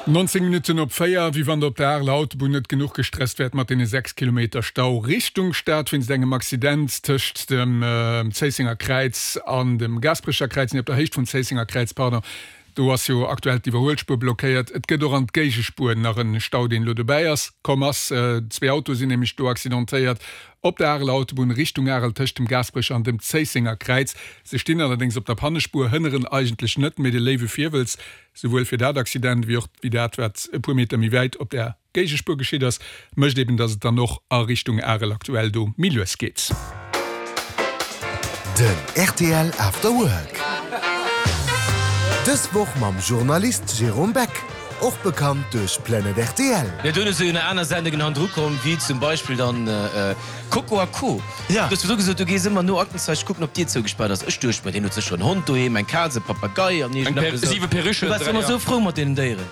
19 Minutten op 4, Wéi wann der op der Areler Autobunn net genuch gestresst wäert mat deene 6 Kilometer Stau Richtung Stad wéinst engem Accident tëscht dem Zéissenger Kräiz an dem Gaasperecher Kräiz, nee op der Héicht vum Zéissenger Kräiz, pardon. Do ass jo aktuell d'Iwwerhuelspuer blockéiert. Et gëtt och an d'Géigespuer nach en Stau, deen elo dobäi ass komm ass. Zwee Autoe sinn nämlech do accidentéiert op der Areler Autobunn Richtung Arel tëscht dem Gaasperecher an dem Zéissenger Kräiz. Se stinn allerdéngs op der Pannespuer, hënneren eigentlech net, mee de léiwe Virwëlz, souwuel fir dat Accident wéi och wéi dat, wat e puer Meter méi wäit op der Géigespuer geschitt ass, mécht eben, dass et dann och a Richtung Arel aktuell do méi lues geet. Den rtl After Work. Dës Woch mam Journalist Jérôme Beck, och bekannt duerch Planet rtl. Jo, duerno sinn jo nach aner Sendungen hannendru komm, wéi zum Beispill dann Coco a Co. Du hues virdru gesot, du gees ëmmer no Aktenzeichen kucken, ob d'Dier zougespaart ass. Ech duecht mer, deen huet sécher en Hond doheem, eng Kaz, e Papagei an iergendeppes esou. Du waars ëmmer esou frou mat deenen Déieren.